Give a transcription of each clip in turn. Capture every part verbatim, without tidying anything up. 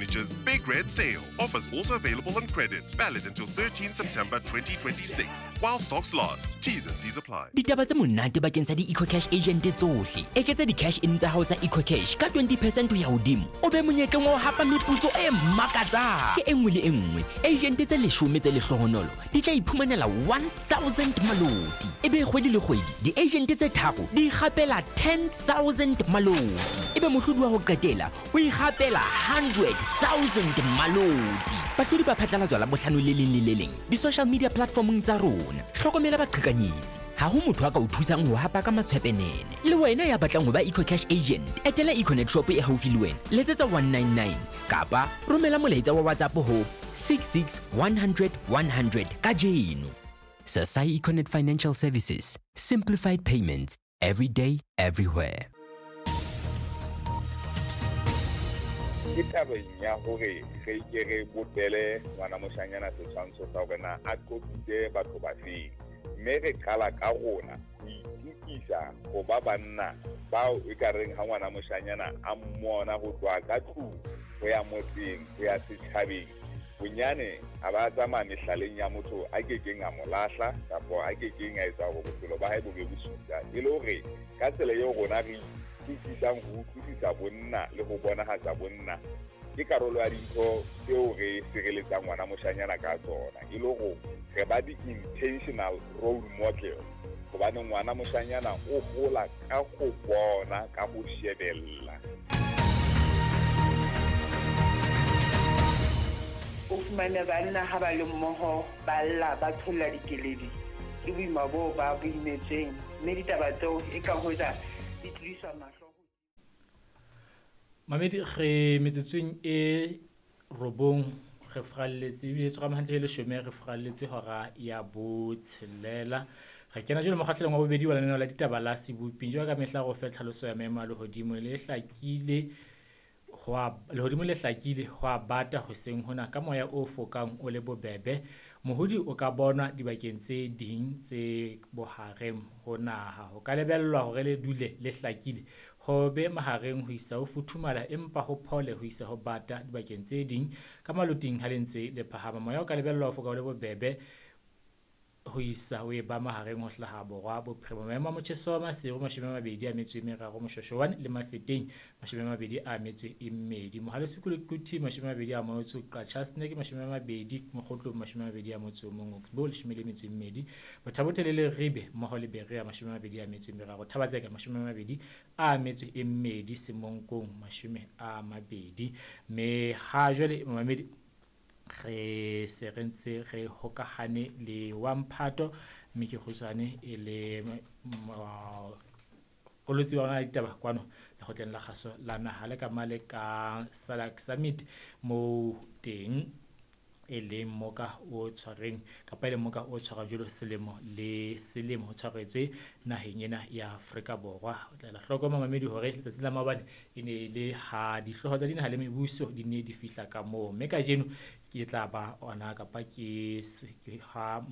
Furniture's Big Red Sale. Offers also available on credit. Valid until thirteenth September twenty twenty-six. While stocks last. T's and C's apply. Ditaba tse monate bakeng sa di-EcoCash agent tsohle. Eketsa di-cash in tsa hao tsa EcoCash ka twenty percent ho ya hodimo. O be monyetleng wa ho hapa meputso e makatsang. Ke e nngwe le e nngwe. Agent tse leshome tse lehlohonolo di tla iphumanela one thousand maloti. Ebe kgwedi le kgwedi di-agent tse tharo di ikgapela ten thousand maloti. Ebe mohlodi wa ho qetela o ikgapela hundred thousand maloti. Bahlodi ba phatlalatswa la bohlano le leng le le leng di-social media platformong tsa rona. Hlokomela baqhekanyetsi. Ha ho motho a ka o thusang ho hapa ka matshwepenene. Le wena ya batlang ho ba EcoCash agent, etela Econet shop e haufi le wena, letsetsa one nine nine kapa romela molaetsa wa WhatsApp ho six six one hundred one hundred kajeno. Sasai Econet Financial Services, simplified payments every day, everywhere. Ke tabeng ya hore re ke re bopele ngwana moshanyana setshwantsho sa hore na a qopitse batho ba feng, mme re qala ka rona ho itukisa ho ba banna bao e ka reng ha ngwana moshanyana a mmona ho tloha ka tlung ho ya motseng ho ya setjhabeng, bonyane a ba tsamaya mehlaleng ya motho a kekeng a mo lahla kapa a kekeng a etsa hore bophelo ba hae bo be bosula. E le hore ka tsela eo rona re utlwisisang ho utlwisisa bonna le ho bonahatsa bonna ke karolo ya dintho tseo re sireletsang ngwana moshanyana ka tsona, e le hore re ba di-intentional role model, hobane ngwana moshanyana o hola ka ho bona, ka ho shebella. O fumane banna ha ba le mmoho ba lla ba tsholla dikeledi ke boima boo ba bo imetsweng, mme ditaba tseo e ka hoja di tlodiswa mahlo. Mamedi, re metsotsong e robong re fralletse ebile tshwara hantle le leshome re fralletse hora ya botshelela. Re kena jwale mokgahlelong wa bobedi wa lenaneo la ditaba la Seboping. Jwalo ka mehla re o fe tlhaloso ya maemo a lehodimo le hlakile ho lehodimo le hlakile ho a bata hoseng hona ka moya o fokang o le bobebe. Mohodi o ka bonwa dibakeng tse ding tse bohareng ho naha. Ho ka lebellwa hore le dule le hlakile ho be mahareng ho isa ho futhumala empa ho phole ho isa ho bata dibakeng tse ding ka maloting ha le ntse le phahama. Moya o ka lebellwa ho foka o le bobebe ho isa ho eba mahareng ho hlaha borwa bophirima. Maemo a motjheso wa Maseru mashome a mabedi a metso e meraro, Moshoeshoe le Mafeteng mashome a mabedi a metso e mmedi, Mohale's Hoek le Quthing mashome a mabedi a motso, Qacha's Nek mashome a mabedi, Mokhotlong mashome a mabedi a motso o mong, Oxbow leshome le metso e mmedi, Botha-Bothe le Leribe mmoho le Berea mashome a mabedi a metso e meraro, Thaba-Tseka mashome a mabedi a metso e mmedi, Semonkong mashome a mabedi. Mme ha jwale mamedi re se re ntse re hokahane le wa mphato mme ke kgutshwane e le kolotsi wa rona ditaba kwano lekgotleng la kgaso la naha le ka male ka SADC Summit mo teng e leng moka o tshwareng kapa e leng moka o tshwarang jwalo selemo le selemo ho tshwaretswe naheng ena ya Afrika Borwa. O tla ela hloko mamedi hore letsatsi la maobane e ne e le ha dihlooho tsa dinaha le mebuso di ne di fihla ka moo, mme kajeno ke tla ba ona kapa ke ha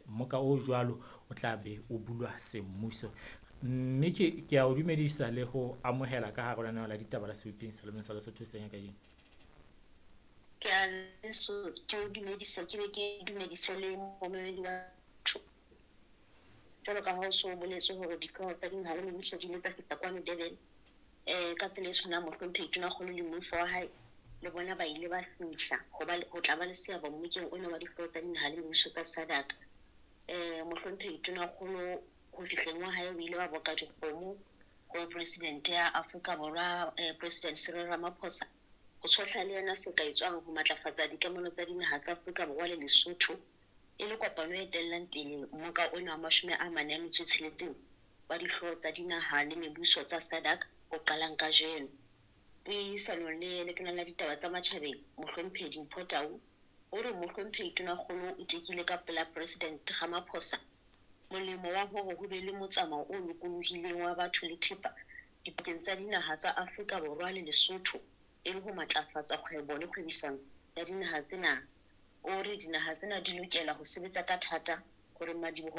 moka o jwalo o tla be o bulwa semmuso. Mme ke ke a o dumedisa le ho amohela ka hare ho lenaneo la ditaba la Seboping Selemeng sa Lesotho seng kajeno. Ke a leso ke o dumedisa ke be ke dumedise le momamedi wa batho. Jwalo ka ha o so boletse hore dihlooho tsa dinaha le mebuso di ile tsa fihla kwano Durban, eh ka tsela e tshwanang mohlomphehi Tonakgolo le moifo wa hae le bona ba ile ba fihla ho ba ho tla ba le seabo mmokeng ona wa dihlooho tsa dinaha le mebuso tsa SADC. Eh mohlomphehi Tonakgolo ho fihleng wa hae o ile wa boka dikgomo ho president ya Afrika Borwa, eh, President Cyril Ramaphosa, ho tshohla le yena se ka etswang ho matlafatsa dikamano tsa dinaha tsa Afrika Borwa le Lesotho e le kopano e etellang pele mmoka ona wa mashome a mane a metso e tsheletseng wa dihlooho tsa dinaha le mebuso tsa SADC o qalang kajeno. Puisanong le Letona la Ditaba tsa Matjhabeng Mohlomphehi Dimpho Tau o re Mohlomphehi Tonakgolo o tekile ka pela President Ramaphosa molemo wa hore ho be le motsamao o lokolohileng wa batho le thepa dipakeng tsa dinaha tsa Afrika Borwa le Lesotho e le ho matlafatsa kgwebo le kgwebisano ya dinaha tsena. O re dinaha tsena di lokela ho sebetsa ka thata hore madiboho